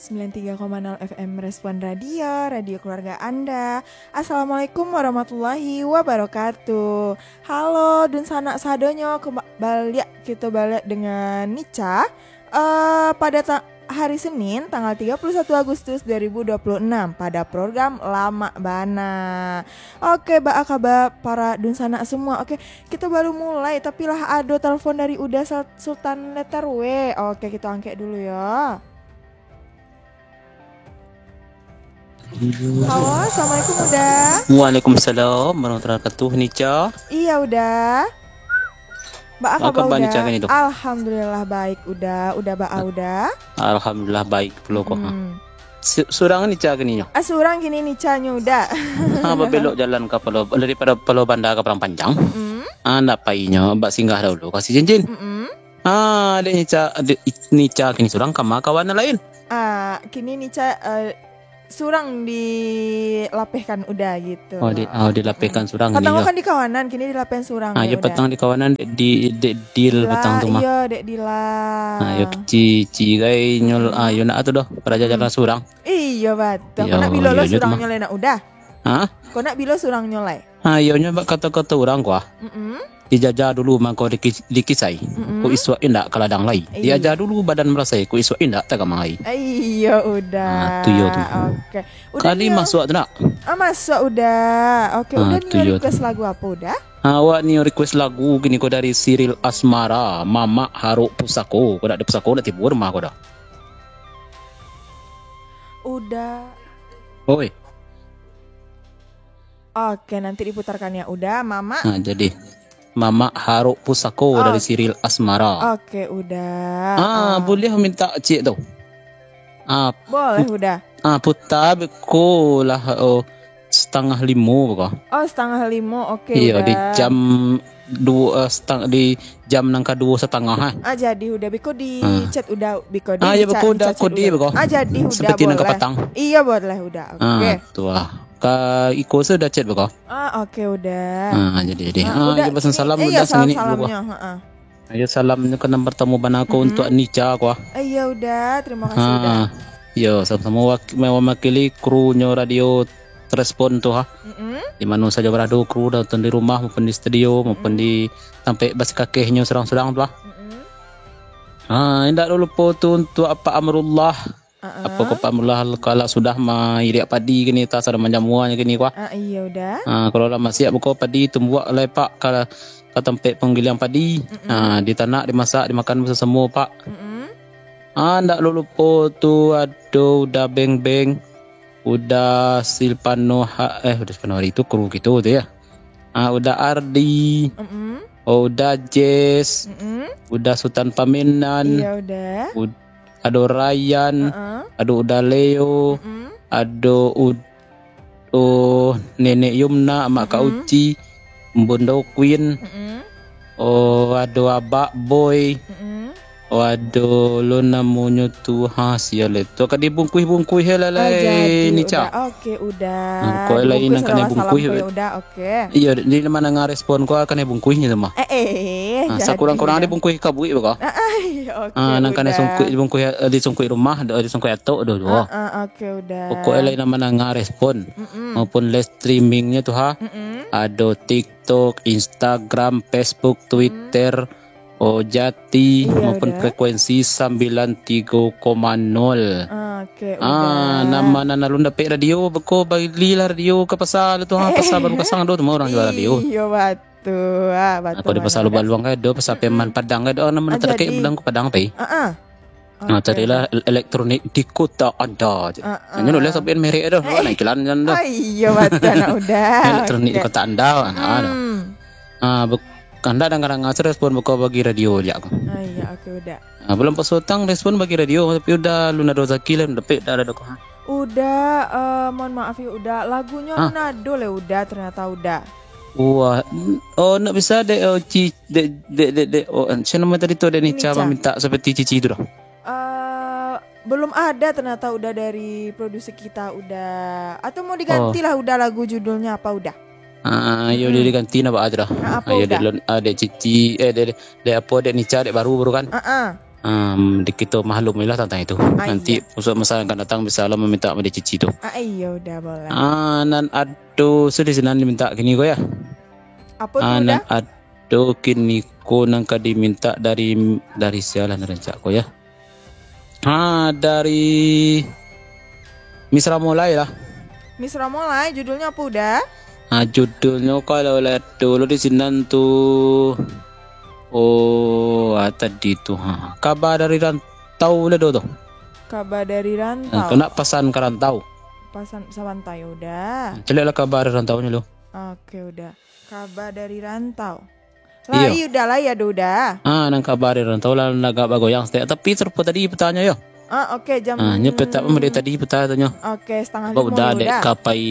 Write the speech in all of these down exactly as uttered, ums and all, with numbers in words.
Sembilan tiga koma nol F M Respon Radio, radio keluarga Anda. Assalamualaikum warahmatullahi wabarakatuh. Halo, dunsanak sadonyo, kemba-, baliak, kito baliak dengan Nica. Eh, pada ta-, hari Senin, tanggal tiga puluh satu Agustus dua ribu dua puluh enam, pada program Lamak Bana. Oke, baa kaba para dunsanak semua? Oke, kito baru mulai, tapi lah ado telepon dari Uda Sal-, Sultan Letter W. Oke, kito angkek dulu yo. Halo, assalamualaikum, Uda. Waalaikumsalam warahmatullahi wabarakatuh, Nica. Iya, Uda. Baa kaba, Uda? Nica, kini tu? Alhamdulillah, baik, Uda. Uda baa, Uda? Alhamdulillah, baik pulo ko. Hmm. Su-, surang Nica kini nyo? Ah, surang kini Nica nyo, Uda. Ha, babelok jalan ka Palo, daripada Palo Banda ka Padang Panjang. Mm-mm. Ah, ndak pai nyo, bak singgah dahulu ka Sijincin. Mm-mm. Ah, dek Nica, dek Nica kini surang ka ma kawan nan lain? Ah, kini Nica, eh, surang dilapehkan Uda gitu. Oh, di, oh, dilapehkan surang kini yo. Patang kan di kawanan, kini dilapehkan surang. Ah, yo, Uda. Patang di kawanan, di, di, di, patang tu mah. Iyo, dek Dila. Ah, yo, ci, ci gai nyol, ah, yo nak tu doh, paraja jalan surang. Iyo, batua. Yo, kau nak bilo lo surang nyo lai nak Uda? Ha? Kau nak bilo surang nyo lai? Ha, iyo nyo bak kato-kato urang ko ah. Mm-mm. Dijaja dulu mangko diki-, dikisai. Mm-mm. Kok isuak indak ka ladang lai. Iya. Diaja dulu badan marasai, kok isuak indak tagamang lai. Iyo, Uda. Ah, tu yo tu. Oke. Uda. Kali nio masuak tu nak? Ah, masuak, Uda. Oke, ah, Uda nio request lagu apo, Uda? Ah, awak nio request lagu kini ko dari Siril Asmara, Mamak Harok Pusako. Ko dak ado pusako, nak tibo rumah ko dah. Uda. Oi. Oke, nanti diputarkan ya, Uda. Mamak. Nah, jadi, Mamak Harok Pusako dari Siril Asmara. Oke, Uda. Ah, ah, boleh minta cik tu. Ah, boleh, Uda. Ah, putar beko lah, oh, setengah limo beko. Oh, setengah limo, oke, Uda. Iyo, di jam duo, eh, setang-, di jam nan kaduo satangah, ha. Ah, jadi, Uda. Beko di chat Uda, beko di chat, beko Uda, chat Uda. Ah, jadi, Uda, sampai tinan ka patang. Iyo, boleh, Uda. Oke. Ah, tu ah. Ka iko sudah chat beko. Ah, oke, Uda. Ah, jadi, jadi. Ah, Uda, iyo, pesan salam, eh, Uda, iyo, salam, sangini dulu, salamnyo, ha. Iyo, salamnyo ka nan partamo bana ko untuak Nica ko ah. Eh, iyo, Uda. Terima kasih, Uda. Iyo, samo-samo wak-, mewakili kru nyo radio Respon tu ha. Mm-mm. Di mano sajo barado kru, nonton di rumah maupun di studio, maupun di tampek basikakehnyo surang-surang tu ha. Mm-mm. Ha, indak lupo tu untuak Apak Amrullah. Uh-uh. Apo ko Apak Amrullah, kalau sudah mairiak padi kini, tas ado manjamuanyo kini ko ha. Ah, iyo, Uda. Ha, kalau lah masiak beko padi, tumbuak lai, Pak, ka, ka tampek panggiliang padi. Mm-mm. Ha, ditanak, dimasak, dimakan basamo-samo, Pak. Mm-mm. Ha, ndak lupo tu ado Uda Beng Beng. Uda Silvano ha-, eh, Uda Silvano hari tu kru kito tu yo. Ah, Uda Ardi. Mm-mm. Oh, Uda Jess. Mm-mm. Uda Sutan Pamenan. Iyo, Uda. Ud-, ado Ryan. Uh-uh. Ado Uda Leo. Mm-mm. Ado Ud-, oh, Nenek Yumna, Mak Kak Mm-mm. Uci. Bunda Queen. Mm-mm. Oh, ado Abak Boy. Mm-mm. Oh, ado lo namonyo tu, ha, sia lai tu. Ka dibungkuih-bungkuih lah lai, Nica. Ah, jadi, Uda. Oke, Uda. Ha, kok lai nan kanai bungkuih. Dibungkuih salam-salam ko yo, Uda. Oke. Iyo, di mana nga respon ko kanai bungkuihnyo tu mah. Eh, eh, ha, jadi, sakurang-kurang Uda. Dibungkuih kabuik beko. Ah, ah, iyo, oke, ha, nan kanai Uda. Sungkuih, dibungkuih, eh, disungkuih rumah, do, disungkuih atok, do, do. Ah, ah, oke, Uda. Pokok lai nan mana nga respon. Mm-mm. Maupun live streamingnyo tu ha. Mm-mm. Ado TikTok, Instagram, Facebook, Twitter, Oh Jati, iyo, maupun Uda. Frekuensi sambilan tigo koma nol. Oke, ah, Uda. Nan ma nan alun dapek radio, beko balilah radio ka pasa tu ha, pasa Baru Kasang do tu mah urang jual radio. Iyo, batua, ah, batua. Kalau di pasa Lubaluang kan ado, pasa Peman Padang kan ado, nan ma nan tadakek Padang ko Padang pai. Ah, ah. Ah, oke. Carilah el-, elektronik di kota anda. Ah, ah. Nyo nulis sampai merek tu, eh, nak iklan jan tu. Ah, iyo, batua nak Uda. Elektronik di kota anda, nah, tu. Hmm. Ah, bek-, kandak danga-danga se respon beko bagi radio jak ko. Ah, iyo, oke, Uda. Ah, belum pas utang respon bagi radio, tapi Uda lun ado rezeki lah, dapek Uda ado ko. Uda, eh, mohon maaf yo, Uda. Lagunyo lun ado lai, Uda, ternyata, Uda. Wah, n-, oh, nak bisa dek, oh, ci-, dek, dek, dek, dek, oh, siapa nama tadi tu, dek Nica. Nica maminta seperti Cici tu dah. Eh, belum ada ternyata Uda dari produser kita, Uda. Atau mau diganti lah Uda lagu judulnya apa, Uda? Ah, yo, hmm, diganti nah, Pak, tu dah. Ah, apa, Uda? Dek lon-, ah, dek Cici, eh, dek, dek apa, dek Nica, dek baru, baru kan? Ah, ah. Um, di kito maklum lah tantang itu. Ah, Nanti iya. Usuk masa yang akan datang bisa lah maminta mode cici tu. Ah, iya, udah boleh. Ah, nan ado sudah sinan diminta kini ko ya. Apa tu Ah, nan udah? Ado kini ko nan ka diminta dari, dari sialah nan rancak ko ya. Ha, dari Misra Molai lah. Misra Molai, judulnya apa udah? Ha, judulnya kalau lah dulu di sinan tu. Oh, ah, tadi tu. Ha, kabar dari rantau lah do tu. Kabar dari rantau. Ha, kena pasan ke rantau. Pasan sabantai udah. Caliaklah kabar dari rantau ni lo. Oke, udah. Kabar dari rantau. Iyo. Lai udah, lai ado udah. Ah, nan kabar dari rantau lah agak bagoyang setiap. Tapi serupa tadi pertanyaan yo. Ah, oke, jam Ah, nyo petak pun dari tadi pertanyaan. Oke, setengah Ba lima udah dek udah. Kapai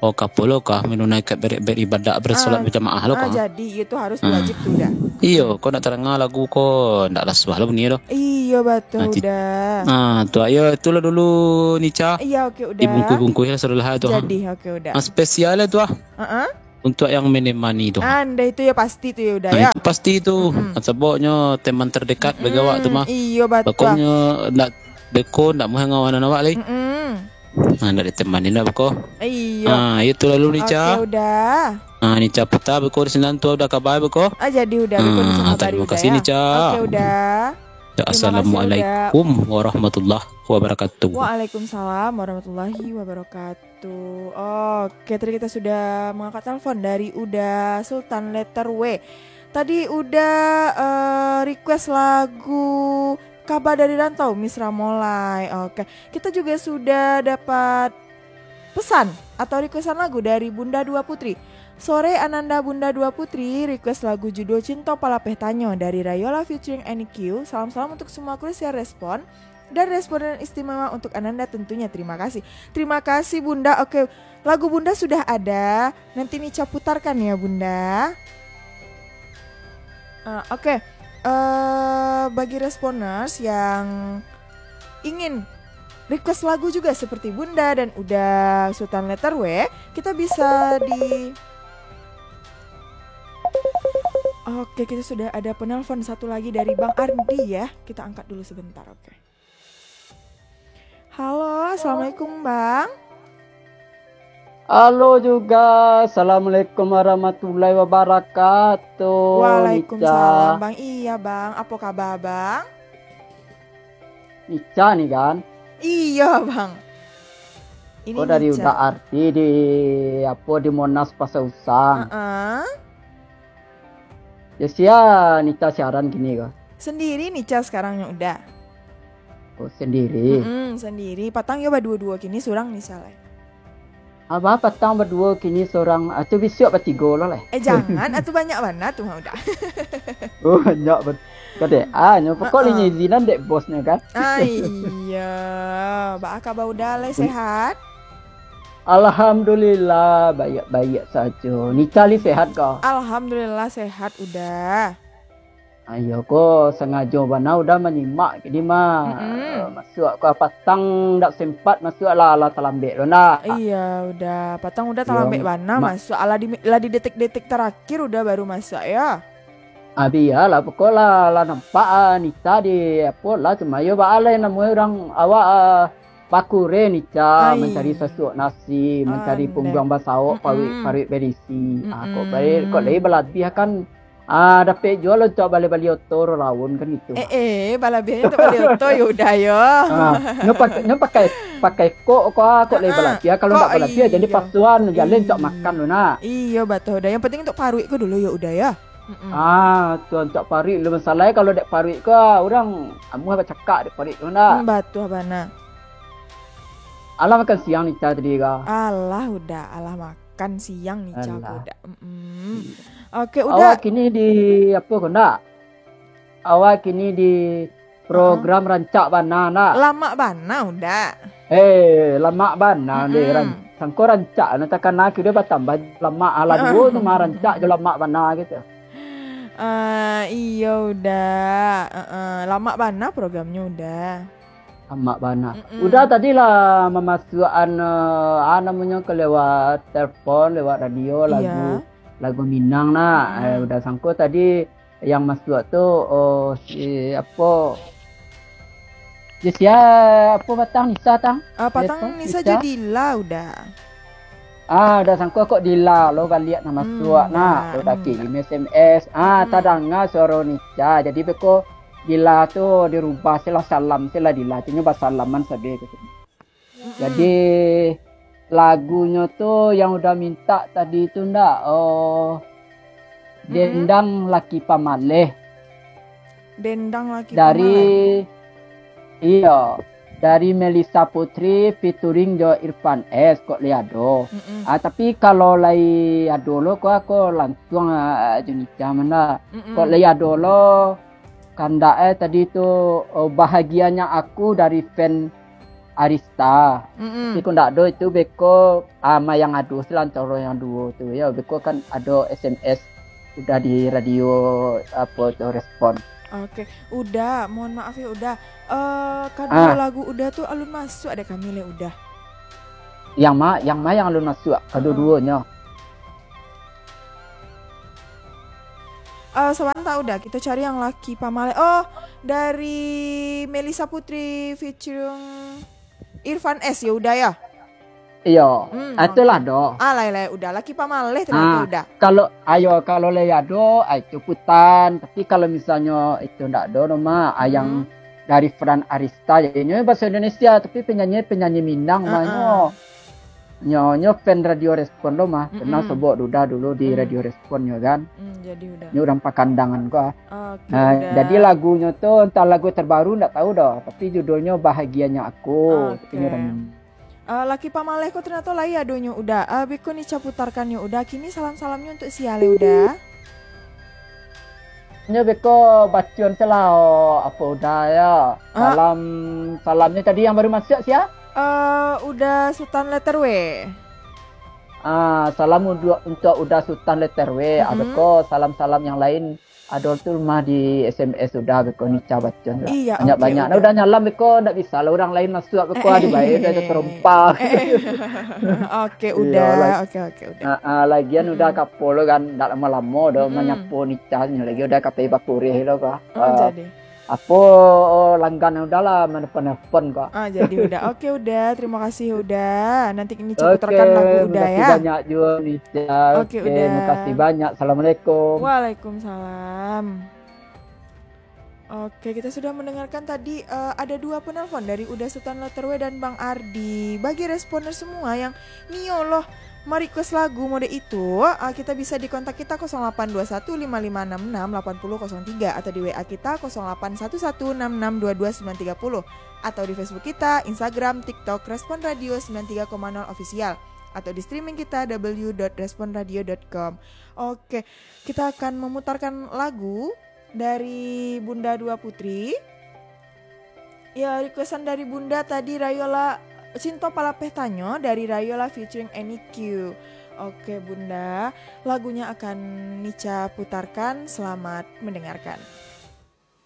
Oh, kapo lo kah menunaikan ber-, beribadah, bersolat Ah, berjamaah lo ah, kah? Jadi, itu harus Ah. wajib tu dah. Iyo, kau nak terangah lagu ko, ndak lah suah lo bunyi lo. Iyo, betul Nah, ti- dah. Ah, tu ayo, itulah dulu Nica. Iya, oke, udah. Dibungkus-bungkus lah sudah lah tu. Jadi, oke, udah. Ah, spesial lah tu ah. Heeh. Untuk yang menemani tu. Ah, nda itu ya pasti tu ya udah Nah, ya. Itu pasti tu. Mm-mm. Sebabnyo teman terdekat bagi awak tu Mm-mm, mah. Iyo, betul. Pokoknyo ndak beko ndak mungkin ngawan awak lai. Mm-mm. Ha, ndak ditemani ndak beko. Iyo. Ha, itu lalu Nica. Oke, udah. Ha, Nica putar beko di sinan tu udah kabar beko. Ah, jadi udah beko Nica Ha, kabari terima udah kasih ya. Nica. Oke, udah. Ya, Terima kasih, Assalamualaikum warahmatullahi wabarakatuh. Waalaikumsalam warahmatullahi wabarakatuh. Oke, tadi kita sudah mengangkat telepon dari Uda Sultan letter W. Tadi Uda, eh, request lagu Kabar dari Rantau, Misra Molai. Oke, kita juga sudah dapat pesan atau requestan lagu dari Bunda Dua Putri. Sore Ananda Bunda Dua Putri, request lagu judul Cinto Palapeh Tanyo dari Rayola featuring N Q. Salam-salam untuk semua kru siar respon dan responden istimewa untuk Ananda tentunya. Terima kasih. Terima kasih, Bunda. Oke, lagu Bunda sudah ada. Nanti Nica putarkan ya, Bunda. Ah, oke. Eh, bagi responers yang ingin request lagu juga seperti Bunda dan Uda Sultan letter W, kita bisa di Oke, kita sudah ada penelpon satu lagi dari Bang Ardi ya. Kita angkat dulu sebentar, oke. Halo, assalamualaikum, Bang. Halo juga, assalamualaikum warahmatullahi wabarakatuh. Waalaikumsalam, Nica. Bang. Iya, Bang. Apa kabar, Bang? Nica ni kan? Iya, Bang. Ini Kau dari Nica. Uda Ardi di, apa, di Monas Pasar Usang. Heeh. Ya, sia Nica siaran kini ko? Sendiri Nica sekarang nyo Uda. Oh, sendiri? Mm-mm, sendiri. Patang yo baduo-duo kini, surang Nica lai. Abah patang baduo kini surang, ah, tu bisuak batigo lo lai. Eh, jangan, atu banyak bana tu mah Uda. Oh, banyak bet-, kadek, ah, nyo pokok Heeh. Lai izinan dek bosnyo kan? Ah, iya. Baa kaba Uda lai, sehat? Alhamdulillah, baiak-baiak sajo. Nica lai sehat ko? Alhamdulillah sehat Uda. Ayo ko, sangajo bana Uda manyimak kini mah. Mm-mm. Eh, masuak ko patang ndak sempat masuak lah, lah talambek lo ndak? Iya, Uda. Patang Uda Iyo, talambek bana ma- masuak. Alah di, lah di detik-detik terakhir Uda baru masuak yo. Ah, bialah, pokok lah, lah nampak, ah, Nica di, apo lah, cuma yo baa lai namonyo urang awak, ah, bakure Nica, Ai. Mancari sasuok nasi, mancari Andai. Pungguang basaok, Mm-mm. Paruik-paruik berisi. Ah, kok Mm-mm. Balik, kok lai balabiah kan, ah, dapek juo lo untuak bali-bali oto ro laun kan gitu. Eh, eh, balabiahnyo untuak bali oto, yo Uda yo. Ah, nyo pakai, nyo pakai, pakai kok, kok, ah, kok lai Ah, balabiah, kalau kok ndak balabiah, jadi iyo. Pasuan, jaleh untuak Iyo. Makan lo nak. Iyo, batua Uda. Yang penting untuak paruik ko dulu yo Uda yo. Mm-mm. Ah, tu untuak paruik lo masalah, kalau dek paruik ko, urang amuah bacakak dek paruik ko nak. Hmm, batua bana. Alah makan siang Nica tadi ko? Alah Uda, alah makan siang Nica ko Uda. Mm-mm. Oke, Uda. Awak kini di apo ko ndak? Awak kini di program Heeh. Rancak bana ndak? Lamak bana Uda. Eh, lamak bana deh, Mm-mm. Ran-, sangko rancak, nah, takana kiro batambah lamak, alah duo tu mah rancak jo lamak bana gitu. Ah, iyo Uda. Heeh, lamak bana programnyo Uda. Lamak bana. Mm-mm. Uda tadi lah mamasuakan, eh, ah, namonyo ko lewat telepon, lewat radio, Iya. Lagu, lagu Minang nah. Mm-mm. Eh, Uda sangko tadi Yang masuak tu, oh, si apo? Si sia, apo patang Nisa tang? Ah, patang Nisa jo Dila, Uda. Ah, Uda sangko kok Dila lo baliak nan masuak nak. Uda kirim S M S. Ah, tadanga suaro Nisa. Jadi beko Dila tu dirubah, silah salam, silah Dila. Artinyo basalaman sabe gitu. Jadi, lagunyo tu yang Uda mintak tadi tu ndak? Oh, Dendang Laki Pamaleh. Dendang Laki Pamaleh. Dari, iyo, dari Melissa Putri featuring jo Irfan S, kok lai ado. Ah, tapi kalau lai ado lo, kok ako langsuang, ah, jo Nisa mah ndak. Kok lai ado lo, kandak eh tadi tu, oh, Bahagianya Aku dari fan Arista. Tapi kok ndak ado itu beko, ah, ma yang ado sih lah antaro yang duo tu. Yo, beko kan ado S M S Uda di radio, apo tu, respon. Oke, Uda, mohon maaf yo, Uda. Eh, kaduo lagu Uda tu alun masuak dek kami lai, Uda. Yang ma, yang ma yang alun masuak, kaduo-duonyo. Eh, sabanta, Uda, kito cari yang Laki Pamaleh. Oh, dari Melissa Putri featuring Irfan S yo, Uda yo? Iyo. Ah, itulah doh. Ah, lai, lai, Uda. Laki Pamaleh tu lagu Uda. Kalau, ayo, kalau lai ado, ah, itu putan. Tapi kalau misalnyo itu ndak ado, no, ma, ah, yang dari Fran Arista, jadinyo bahaso Indonesia, tapi penyanyi, penyanyi Minang, ma, nyo. Nyo, nyo fan Radio Respon lo mah. Pernah sobok Uda dulu di Radio Respon nyo kan. Nyo urang Pakandangan ko ah. Oke, Uda. Jadi lagunyo tu, antah lagu terbaru ndak tahu doh, tapi judulnyo Bahagianya Aku. Tapi nyo urang Eh, Laki Pamaleh ko ternyato lai adonyo, Uda. Eh, beko Nisa putarkan yo, Uda. Kini salam-salamnyo untuk sia lai, Uda? Nyo beko bacoan se lah, oh, apo Uda yo. Salam, salamnyo tadi yang baru masuak sia? Eh, Uda Sutan Letter W. Ah, salam untuak, untuak Uda Sutan Letter W. Ah, beko salam-salam yang lain. Ado tu mah di S M S Uda beko Nisa bacoan lah. Iyo, banyak-banyak. Nah, Uda nyalam beko ndak bisa lah urang lain masuak beko, aduh, bae Uda terompa. Oke, Uda. Oke, oke, Uda. Ah, ah, lagian Uda kapo lo kan, ndak lamo-lamo doh manyapo Nisa nyo lagi, Uda kato bakureh lo ko. Oh, jadi. Apo, langganan Uda lah, manelpon-nelpon ko. Ah, jadi Uda. Oke, Uda. Terima kasih, Uda. Nanti Nisa putarkan lagu Uda, ya. Makasih banyak juo, Nisa. Oke, Uda. Makasih banyak. Assalamualaikum. Waalaikumsalam. Oke, kita sudah mendengarkan tadi, eh, ada dua penelpon dari Uda Sutan Letter W dan Bang Ardi. Bagi responder semua yang nio lo ma-request lagu mode itu, eh, kita bisa di kontak kita kosong delapan dua satu lima lima enam enam delapan nol kosong tiga atau di W A kita kosong delapan satu satu enam enam dua dua sembilan tiga puluh atau di Facebook kita, Instagram, TikTok, Respon Radio sembilan tiga koma nol Official atau di streaming kita w w w dot respon radio dot com. Oke, kita akan memutarkan lagu dari Bunda Dua Putri. Ya, requestan dari Bunda tadi Rayola Cinto Palapeh Tanyo dari Rayola featuring Any Q. Oke, Bunda, lagunya akan Nisa putarkan. Selamat mendengarkan.